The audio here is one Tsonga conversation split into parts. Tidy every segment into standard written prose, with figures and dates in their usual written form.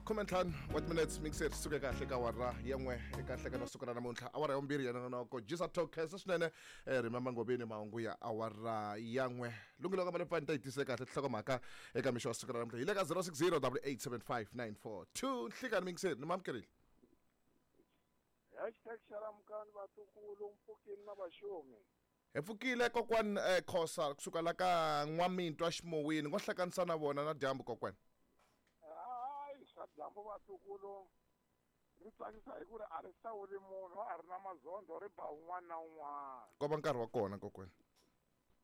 15 wa timinutes mixer suke kahle ka awara ya n'we eka nhlekano wa siku ra namuntlha, awara ya vumbirhi ya nongonoko jisa talk khensa swinene. Rimama Ngobeni, mahungu ya awara ya n'we lunghilo ka malepfani ta yi tise kahle tinhlokomhaka eka mixo wa siku ra namuntlha. Hi le ka 060 8875942. Nhlikani mixer, ni mamukerile. #Xalamukani vatukulu, mpfukini na vaxumi. Hi pfukile kokwan. Khosa kusuka la ka N'wamintwa Ximowini ngo hlanganisa na vona na dyambu kokwan. Hayi, swa dyambu vatukulu ri tsakisa hi ku ri a ri hlawuli munhu, a ri na mazondho, ri ba un'wana na un'wana. Ko va nkarhi wa kona kokwan.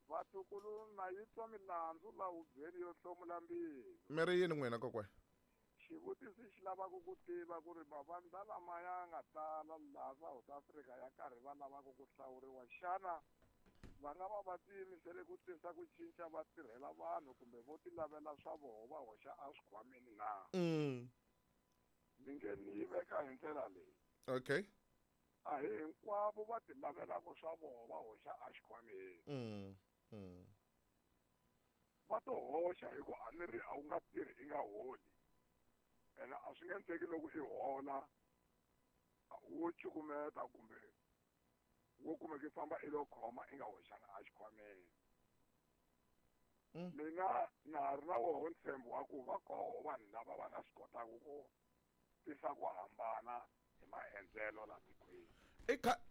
Vatukulu, na yi twa milandzu la hubyeni yo hlomula mbilu. Mi ri yini n'wina kokwan? Xivutiso xi lavaka ku tiva ku ri mavandla lama ya nga tala laha South Africa ya karhi va lavaka ku hlawuriwa, xana va nga va va tiyimisele ku tisa ku cinca, va tirhela vanhu, kumbe vo ti lavela swa voho va hoxa eswikhwameni na? Ni nge ni yi veka hi ndlela leyi. A hi hinkwavo va ti lavelaka swa voho va hoxa exikhwameni. Va to hoxa hi ku a ni ri a wu nga tirhi i nga holi, ene a swi nge endleki loko i hola wo cukumeta kumbe wo kumeka i famba i lo khoma i nga hoxanga exikhwameni. Mina na ha ri na woho ntshembo wa ku va koho vanhu lava va nga swi kotaka ku tisa ku hambana hi maendlelo la tikweni.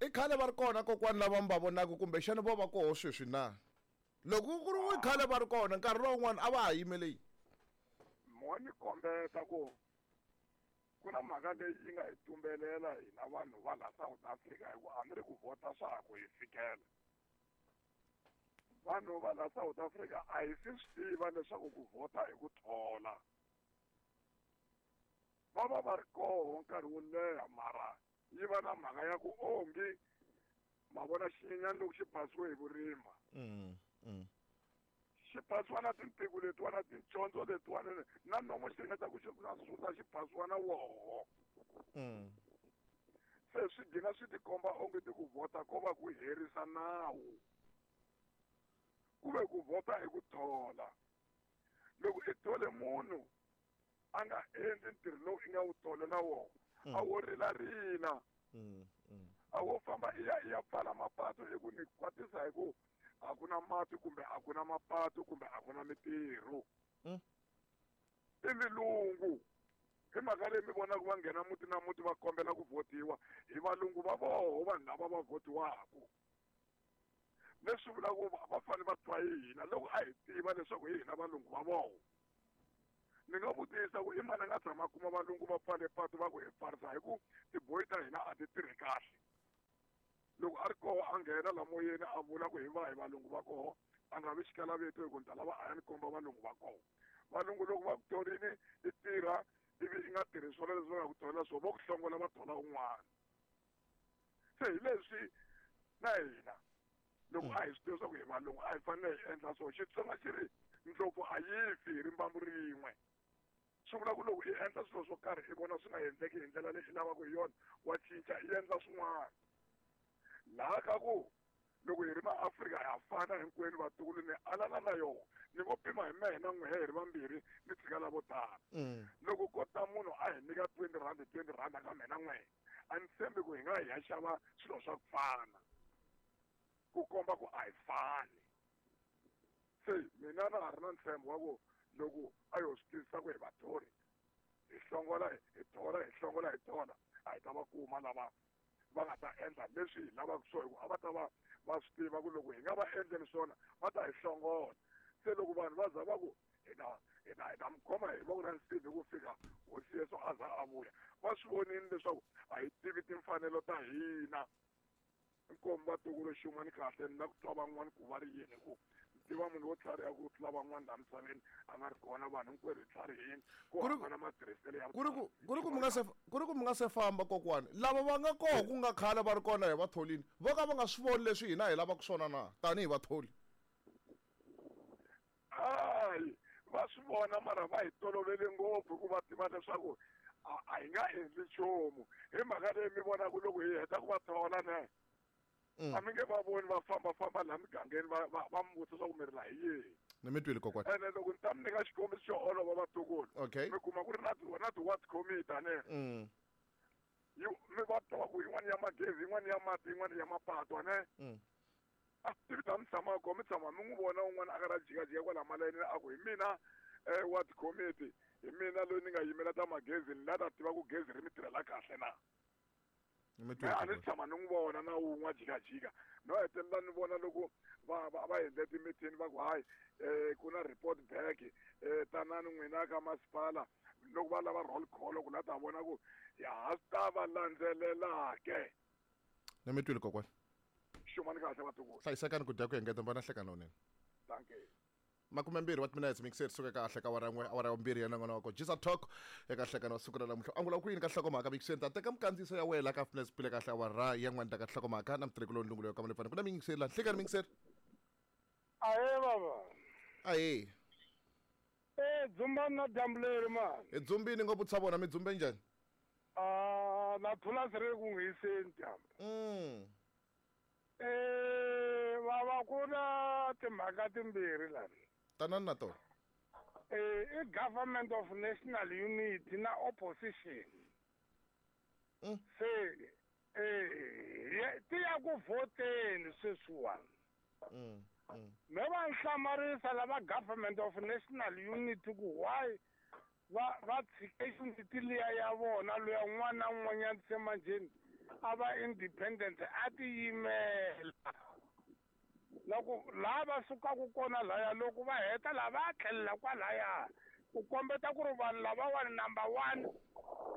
I khale va ri kona kokwani lava mi va vonaka, kumbexana vo va koho sweswi na? Loko ku ri khale va ri kona, nkarhi lowun'wana a va ha yimele yini? Mo ni kombeta ku ku na mhaka leyi yi nga hi tumbelela hina vanhu va la South Africa, hi ku a ni ri ku vhota swa ha ku hi fikela. Vanhu va la South Africa a hi si swi tiva leswaku ku vhota hi ku thola. Va va va ri koho nkarhi wo leha, mara yi va na mhaka ya ku onge ma vona xinyenyani loko xi phasiwe hi vurima. Xi phasiwa na tintiko letiwa na tincondzo letiwa na nomo xi ringeta ku xi na susa, xi phasiwa na woho. Se swi gcina swi tikomba onge ti ku vhota ko va ku herisa nawu, ku ve ku vhota hi ku thola. Loko i thole munhu a nga endli ntirho lowu i nga wu tholela wona, a wo rilarila, a wo famba i ya i ya pfala mapatu hi ku ni kwatisa hi ku a ku na mati kumbe a ku na mapatu kumbe a ku na mitirho. I milungu hi mhaka leyi mi vonaka va nghena muti na muti va kombela ku vhotiwa hi valungu va voho vanhu lava va vhotiwaka, leswi vulaka ku va fanele va twa hi hina loko a hi tiva leswaku hi hina valungu va voho. Ni nga vutisa ku i mani a nga tshama a kuma valungu va pfale patu va ku hi pfarisa hi ku tiboyi ta hina a ti tirhi kahle? Loko a ri koho a nghena la moyeni a vula ku hi va hi valungu va koho, a nga vi xikalaveto hi ku ni ta lava a ya ni komba valungu va koho. Valungu loko va ku thorini i tirha ivi i nga tirhi swona leswi va nga ku tholela swona, vo ku hlongola va thola un'wana. Se hi leswi na hina loko a hi swi tiva swa ku hi valungu a hi fanele hi endla so. Xitsonga xi ri ndlopfu a yi fi hi rimbambu rin'we. Swi vula ku loko i endla swilo swo karhi i vona swi nga endleki hi ndlela leyi i lavaka hi yona, wa cinca i endla swin'wana. Laha ka ku loko hi ri maAfrika ha fana hinkwenu vatukulu, ni alana na yona, ni vo pima hi mehe na n'wehe hi ri vambirhi, ni tshika lavo tala. Loko ko ta munhu a hi nyika 20 rand 20 rand ka mehe na n'wehe, a ni tshembi ku hi nga hi ya xava swilo swa ku fana, ku komba ku a hi fani. Se mina na ha ri na ntshembo wa ku loko a yo swi twisisa ku hi vathori, hi hlongola hi thola, hi hlongola hi thola, a hi ta va kuma lava va nga ta endla leswi hi lavaka swona, hi ku a va ta va va swi tiva ku loko hi nga va endleli swona va ta hi hlongola. Se loko vanhu va za va ku hi ta mi khoma hi voko ra nsimbi ku fika hosi Yesu a za a vuya, va swi vonile leswaku a hi tivi timfanelo ta hina. Inkomu vatukulu, xin'wana kahle ni la ku twa van'wani ku va ri yini, ku ni tiva munhu wo tlhariha ku tlula van'wani laha misaveni a nga ri kona. Vanhu hinkwerhu hi tlharihini, ku hambana matirhiselo ya. Ku ri ku mi nga se famba kokwani, lava va nga koho ku nga khale va ri kona hi vatholini, vo ka va nga swi voni leswi hina hi lavaka swona na tanihi vatholi? Hayi, va swi vona, mara va hi tolovele ngopfu hi ku va tiva leswaku a hi nga endli nchumu. Hi mhaka leyi mi vonaka loko hi heta ku va thola ne, a mi nge va voni va fambafamba laha migangeni va mi vutisa ku mi ri laha hi yihi. Ni mi twile kokwani. Ene loko ni ta mi nyika xikombiso xo olova vatukulu. Okay. Mi kuma ku ri na na ti-ward committee ane. Yi mi va twa ku yin'wana ya magezi, yin'wana ya mati, yin'wana ya mapatu ane. A swi tivi mi tshama kona mi tshama mi n'wi vona un'wana a karhi a jikajika kwala malayinini a ku hi mina ward committee, hi mina loyi ni nga yimela ta magezi ni la ta tiva ku gezi ri mi tirhela kahle na. Mi Me a ni tshama ni n'wi vona na wun'we a jikajika no hetelela ni vona loko va va va endle timithini va ku hayi ku na report back tanani n'wina ka masipala loko va lava roll call ku la ta vona ku ya ha swi ta va landzelela ke. Ni mi twile kokwani. Xumani kahle vatukulu. Hlayisekani ku dya ku engeta mi va na nhlekani lowunene. Dankie. 20 wa timinetse mixer suka kahle ka awara n'we awara ya vumbirhi ya nongonoko Jisa Talk eka nhlekano wa siku ra namuntlha angula ku yini ka nhlokomhaka mixer ta teka mikandziyiso ya wena ka fitness pile kahle awara ya n'wana ta ka nhlokomhaka na mutirhi kuloni lungulo ya ka malefana ku na mixer la nhlekani mixer. Ahee baba. Ahee. Eh dzumbani na dyambu leri mani. Hi dzumbini ngopfu tsha vona mi dzumbe njhani? Ah na phulasi ri ku n'wi hiseni dyambu. Eh baba ku na timhaka timbirhi lani. Tanani na tona. Eh i government of national unity na opposition. Se eh ti ya ku vhoteni sweswiwani. Me va nhlamarisa lava government of national unity ku why va va tshike unity liya ya vona loya un'wana na un'wanyana se manjheni a va independent a tiyimela na ku laha va sukaka kona laya loko va heta laha va tlhelela kwalaya ku kombeta ku ri vanhu lavawani number 1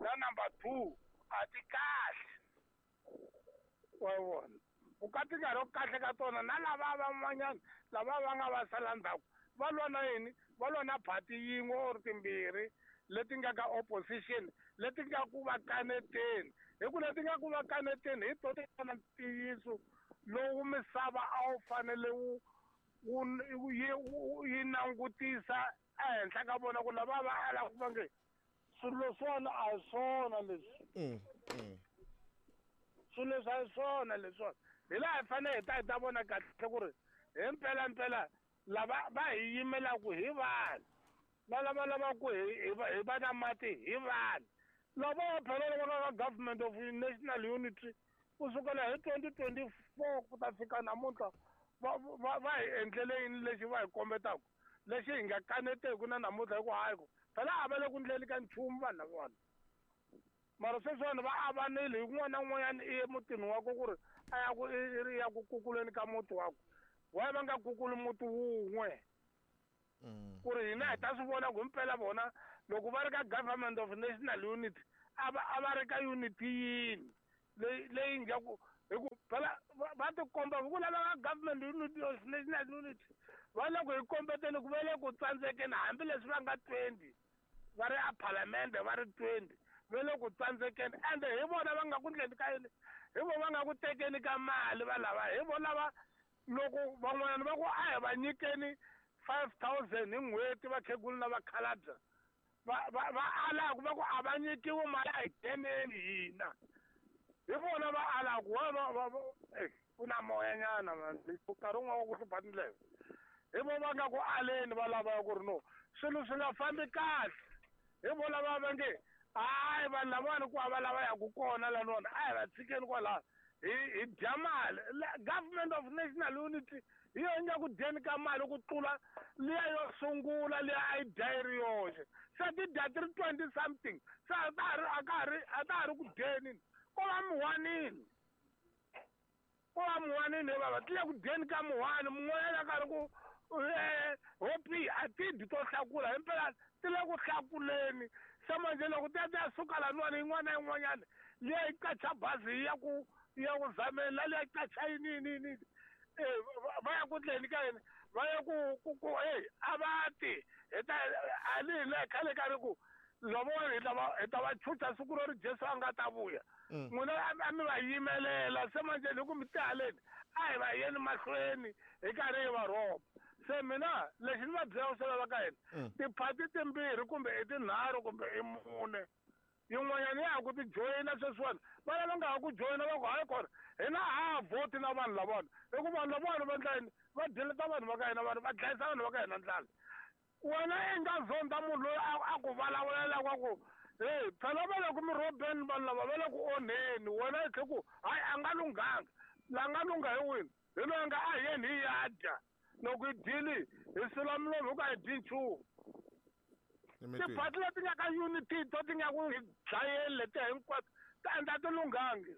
na number 2 a ti kahle. Wa vona ku ka ti nga ri kahle ka tona na lava van'wanyana lava va nga va sala ndzhaku va lwa na yini, va lwa na phati yin'we or timbirhi leti nga ka opposition leti nga ku va kaneteni hi ku leti nga ku va kaneteni hi to ti nga na ntiyiso lowu misava a wu fanele wu wu yi langutisa ehenhla ka vona ku lava va ala ku va nge swilo leswiwani a hi swona leswi. Swilo leswi a hi swona leswiwani. Hi laha hi fanele hi ta hi ta vona kahle ku ri hi mpela mpela lava va hi yimelaka hi vanhu na lava lavaku hi hi va na mati hi vanhu lava va phela lava nga ka government of national unity ku sukela hi 2024 ku ta fika namuntlha va va va hi endlele yini lexi va hi kombetaka lexi hi nga kaneteku na namuntlha hi ku hayi ku phela a va le ku ndleni ka nchumu vanhu lavawani. Mara sweswiwani va avanile hi un'wana na un'wanyana i ye mutini wakwe ku ri a ya ku i ri ya ku kukuleni ka muti wakwe. Why va nga kukuli muti wun'we? Ku ri hina hi ta swi vona ku himpela vona loko va ri ka government of national unity a va a va ri ka unity yini leyi leyi nga ku hi ku phela va tikomba hi ku lava ka government unity of national unity va le ku hi kombeteni ku va le ku tsandzekeni hambileswi va nga 20 va ri a phalamende va ri 20 va le ku tsandzekeni ende hi vona va nga ku ndleni ka yini hi vona va nga ku tekeni ka mali va lava hi vona lava loko van'wanyana va ku a hi va nyikeni 5000 hi n'hweti vakhegula na vakhalabya va va va alaku va ku a va nyikiwi mali a hi ngheneni hina hi vona va alaku wa va va ku na moyanyana nkarhi wun'wana wa ku hlupha tindleve hi vona va nga ku aleni va lava ku ri no swilo swi nga fambi kahle hi vona lava va nge hayi vanhu lavawani ku hava lava yaku kona laniwani a hi va tshikeni kwalaho hi hi dya mali. Government of national unity hi yona yi nga ku dyeni ka mali ku tlula liya yo sungula liya a yi dya yi ri yoxe se ti dya ti ri 20 something se a ta ha ri a ka ha ri a ta ha ri ku dyeni ko va muwanini ko va muwanini he bava ti le ku dyeni ka muwani mun'wanyana a karhi ku hopi a ti dyi to hlakula himpela ti le ku hlakuleni se manje loko ti ya ti ya suka laniwani yin'wana na yin'wanyana liya yi qacha bazi yi ya ku yi ya ku zameni la liya yi qacha yini yini yini va ya ku ndleni ka yini va ya ku ku ku hey a va ti hi ta a ni hina khale ka ri ku lavawani hi ta va hi ta va chucha siku ro ri Jesu a nga ta vuya n'wina a mi va yimelela se manje ni ku mi tihaleni a hi va yeni mahlweni hi karhi hi va rhoba se mina lexi ni va byelaka swo lava ka hina tiphati timbirhi kumbe i tinharhu kumbe i mune. Yin'wanyana ya ha ku ti joyina sweswiwani, va lava nga ha ku joyina va ku hayi kona hina ha ha vhoti na vanhu lavawani, hi ku vanhu lavawani va endla yini? Va dyeleta vanhu va ka hina, vanhu va dlayisa vanhu va ka hina ndlala. Wena i nga zonda munhu loyi a ku vulavulela wa ku hey phela va le ku mi rhobeni vanhu lava va le ku onheni, wena i tlhe ku hayi a nga lunghanga. La nga lungha hi wini? Hi loyi a nga a hi yeni hi ya dya, loko hi dyile hi sula milomu hi ku a hi dyi nchumu. Tiphati leti nga ka unity to ti nga ku hi dlayeni letiya hinkwato ti endla ti lunghangi.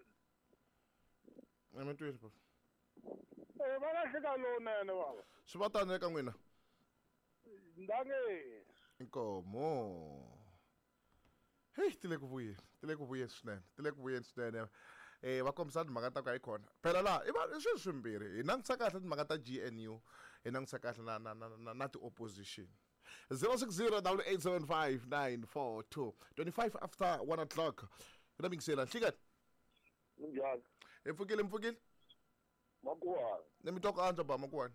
Va lahleka lowunene bava. Swi va tano eka n'wina? Ndange. Inkomo. Hey, ti le ku vuyeni, ti le ku vuyeni swinene, ti le ku vuyeni swinene. Va kombisa timhaka ta ku hayi khona. Phela laha i va i swilo swimbirhi, hi langutisa kahle timhaka ta GNU, hi langutisa kahle na na na na na ti-opposition. 060 875 942 25 after 1 o'clock. Ku na mingisela nhlikani. Minjhani? Hi pfukile, mi pfukile? Makuwani. Ni mi twa ku antswa ba Makuwani.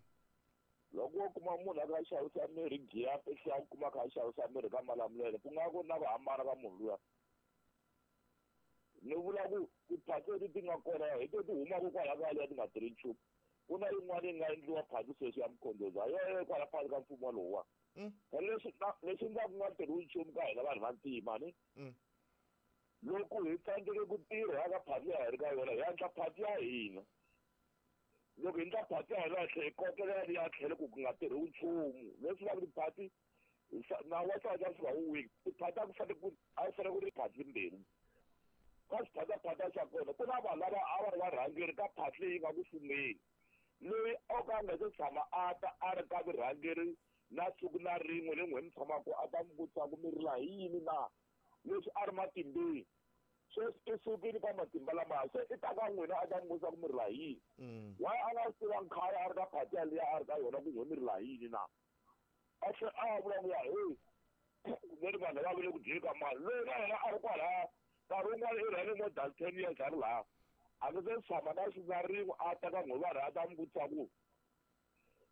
Loko wo kuma munhu a kha a xavisa mirhi giya pehla u kuma a kha a xavisa mirhi ka Malamulele, ku nga ku na ku hambana ka munhu luya. Ni vula ku tiphati leti ti nga kona hi ti humaka kwala ka liya ti nga tirhi nchumu. Ku na yin'wana yi nga endliwa phati sweswi ya Mkhondozi, ha yona kwala phakathi ka mfumo lowuwa. Phela leswi endlaka ku nga tirhiwi nchumu ka hina vanhu va ntima ni. Loko hi tsandzeke ku tirha ka phati ya hi ri ka yona, hi endla phati ya hina. Loko hi endla phati ya hina hi tlhela hi kokelela liya tlhelo ku ku nga tirhiwi nchumu. Leswi vulaka tiphati nawu wa South Africa wu weak. Tiphati a ku fanele ku a ku fanele ku ri phati timbirhi. Ka xiphataphatha xa kona ku na vanhu lava a va ri varhangeri ka phati leyi nga ku fumeni. Loyi o ka a nga se tshama a ta a ri ka vurhangeri na siku na rin'we leyi n'we mi tshamaka a ta mi vutisa ku mi rila hi yini na leswi a ri matimbeni. Sweswi i sukile ka matimba lamaya, se i ta ka n'wina a ta mi vutisa ku mi rila hi yini. Why a nga swi tivanga khale a ri ka phati yaliya a ri ka yona ku n'we mi rila hi yini na? A tlhela a vula ku ya hey veri vanhu lava va le ku dyeni ka mali. Loyi na yena a ri kwalaya nkarhi wun'wana i rhane more than 10 years a ri laha. A nge se tshama na siku na rin'we a ta ka n'we vanhu a ta mi vutisa ku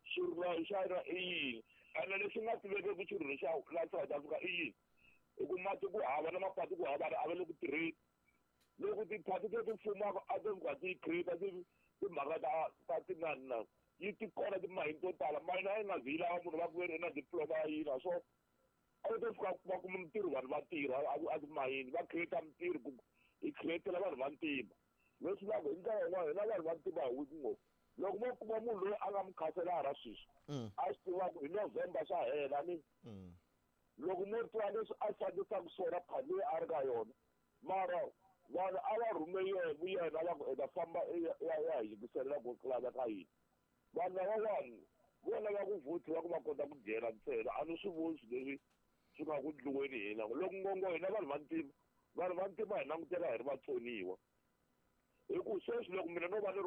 xirilo xa yena i yini. Ene lexi nga tivekeki xirilo xa la South Africa i yini? Hi ku mati ku hava na mapatu ku hava a va le ku tirheni. Loko tiphati leti fumaka a ti fika ti create timhaka ta tinani na yi ti kona timayini to tala. Mayini a yi nga zi yi lava munhu va ku ve na diploma ya yini so a yi to fika va kuma mintirho vanhu va tirha a timayini va create mintirho ku hi createla vanhu va ntima. Leswi vulaka hi ndlela yin'wana hina vanhu va ntima hi weak ngopfu. Loko mo kuma munhu loyi a nga mukhanselara sweswi a swi tiva ku hi November swa hela ni. Loko mo twa leswi a fambisaka swona phati leyi a ri ka yona, mara vanhu a va rhume yena va ku i ta famba i ya hi yingiselela ku ku laveka yini. Vanhu lavawani vo lava ku vhothiwa ku va kota ku dyela ntsena, a ni swi voni swilo leswi swi nga ku ndliweni hina. Loko ngongo hina vanhu va ntima, vanhu va ntima hi langutela hi ri vatsoniwa. Hi ku sweswi loko mina no va ni